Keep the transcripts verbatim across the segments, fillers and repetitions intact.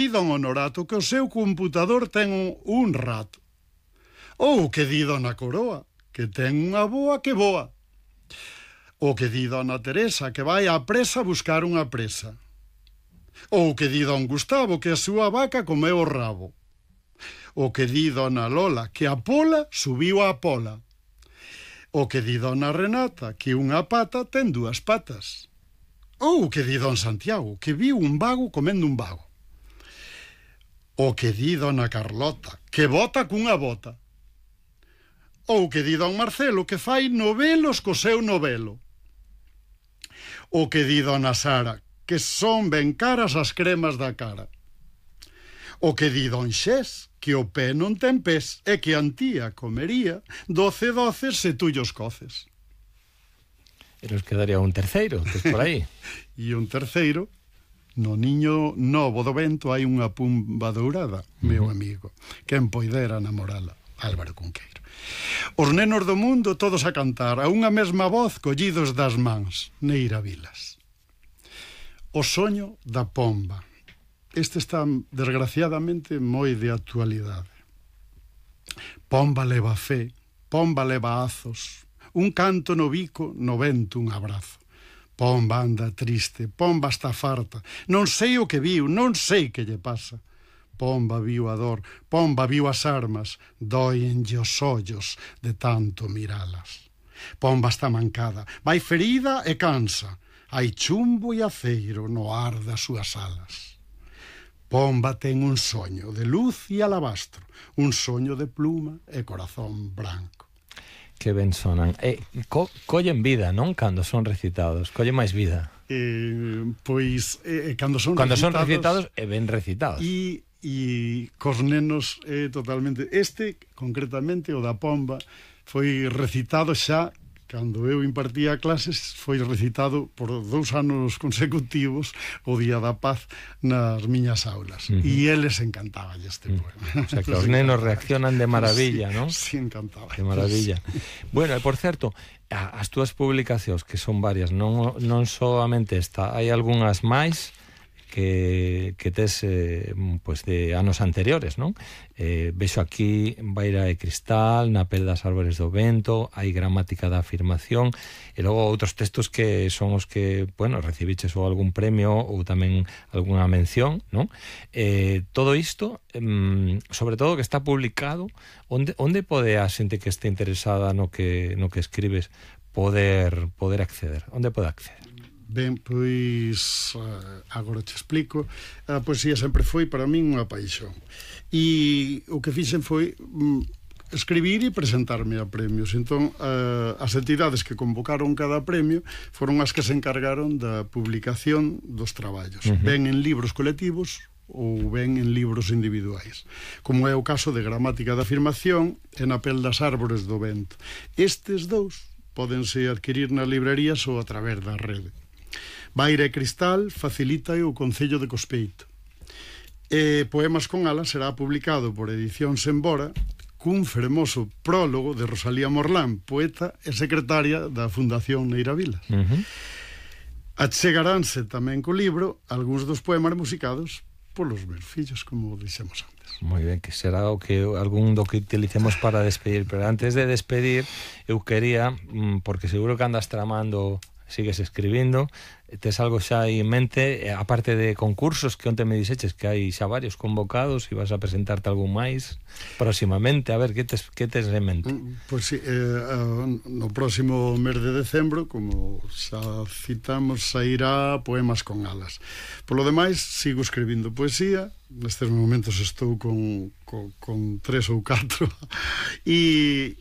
don Honorato que o seu computador ten un, un rato. Ou que di dona Coroa, que ten unha boa que voa. O que di dona Teresa, que vai á presa a buscar unha presa. Ou que di don Gustavo, que a súa vaca comeu o rabo. O que di dona Lola, que a pola subiu á pola. O que di dona Renata, que unha pata ten dúas patas. Ou que di don Santiago, que viu un vago comendo un vago. O que di dona Carlota, que bota cunha bota. Ou que di don Marcelo, que fai novelos co seu novelo. O que di dona Sara, que son ben caras as cremas da cara. O que di don Xés, que o pé non ten pés e que a antía comería doce doces se tú llos coces. E nos quedaría un terceiro, tes por aí. E un terceiro, no niño novo do vento hai unha pumba dourada, meu uh-huh. amigo, quen poidera namorala, Álvaro Cunqueiro. Os nenos do mundo todos a cantar a unha mesma voz collidos das mans, Neira Vilas. O soño da pomba. Este está, desgraciadamente, moi de actualidade. Pomba leva fe, pomba leva azos, un canto no bico, no vento un abrazo. Pomba anda triste, pomba está farta, non sei o que viu, non sei que lle pasa. Pomba viu a dor, pomba viu as armas, doenlle os ollos de tanto miralas. Pomba está mancada, vai ferida e cansa, hai chumbo e aceiro no ar das súas alas. Pomba ten un soño de luz e alabastro, un soño de pluma e corazón branco. Que ben sonan. E co collen vida, non? Cando son recitados, collen máis vida. Eh, pois, eh, cando son cando recitados... son recitados e ben recitados. E e cos nenos é totalmente... Este, concretamente, o da pomba, foi recitado xa, cando eu impartía clases, foi recitado por dous anos consecutivos o Día da Paz nas miñas aulas. Uh-huh. E eles encantaban este poema. O sea, que os nenos reaccionan de maravilla, sí, non? Sí, encantaba. De maravilla. Bueno, e por certo, as túas publicacións, que son varias, non, non solamente esta, hai algunhas máis que, que tes eh, pues de anos anteriores, non? Eh, vexo aquí Baira e Cristal, Na pel das árbores do vento, hai Gramática da afirmación, e logo outros textos que son os que, bueno, recibiches ou algún premio ou tamén algunha mención, non? Eh, todo isto, eh, sobre todo que está publicado, onde, onde pode a xente que este interesada no que, no que escribes poder, poder acceder? Onde pode acceder? Ben, pois agora te explico. A poesía sempre foi para min unha paixón. E o que fixen foi mm, escribir e presentarme a premios. Entón, uh, as entidades que convocaron cada premio foron as que se encargaron da publicación dos traballos. Uh-huh. Ben en libros colectivos ou ben en libros individuais, como é o caso de Gramática da afirmación e Na pel das árbores do vento. Estes dous pódense adquirir nas librerías ou a través da rede. Baira e Cristal facilita o Concello de Cospeito. E Poemas con alas será publicado por Edicións Embora cun fermoso prólogo de Rosalía Morlán, poeta e secretaria da Fundación Neira Vilas. Uh-huh. Achegaránse tamén co libro algúns dos poemas musicados polos meus fillos, como dixemos antes. Moi ben, que será o que algún do que utilicemos para despedir, pero antes de despedir eu quería, porque seguro que andas tramando, sigues escribindo, tes algo xa aí en mente, aparte de concursos que onte me dixeches que hai xa varios convocados e vas a presentarte algún máis próximamente, a ver, que tes, que tes en mente? Pois si, eh, no próximo mes de decembro, como xa citamos, sairá Poemas con alas. Polo demais, sigo escribindo poesía, nestes momentos estou con, con, con tres ou catro e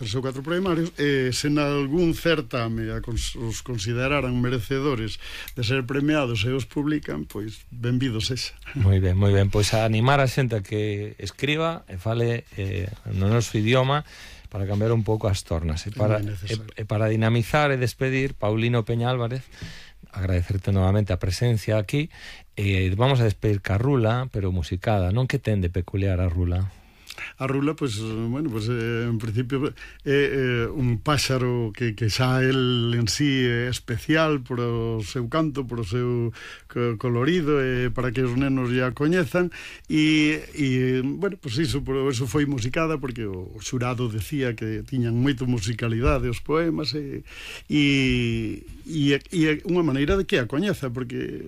tres ou catro poemarios, e se nalgún certame os consideraran merecedores de ser premiados e os publican, pois benvidos sexa. Moi ben, moi ben, pois a animar a xente a que escriba e fale eh, no noso idioma para cambiar un pouco as tornas e para, e, e para dinamizar e despedir, Paulino Peña Álvarez, agradecerte novamente a presencia aquí, e vamos a despedir ca rula, pero musicada, non? Que ten de peculiar a rula? a rula, pois, bueno, pois, eh, en principio é eh, un páxaro que, que xa el en sí é especial por o seu canto, por o seu colorido, e para que os nenos ya coñezan, e, e bueno, pois iso, por eso foi musicada, porque o xurado decía que tiñan moito musicalidade os poemas, e, e, e, e é unha maneira de que a coñeza, porque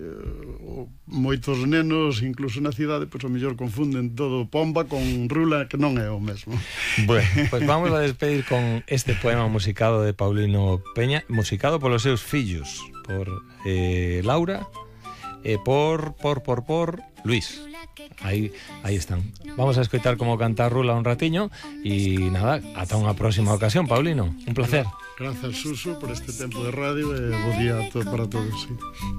o, moitos nenos, incluso na cidade, pois, o mellor confunden todo pomba con rula, que non é o mesmo. Bueno, pues vamos a despedir con este poema musicado de Paulino Peña, musicado polos seus fillos, por eh, Laura e por, por, por, por Luis. Aí, aí están. Vamos a escoitar como canta Rula un ratiño e nada, ata unha próxima ocasión, Paulino. Un placer. Gracias, Suso, por este tempo de radio, e bo día para todos. Sí.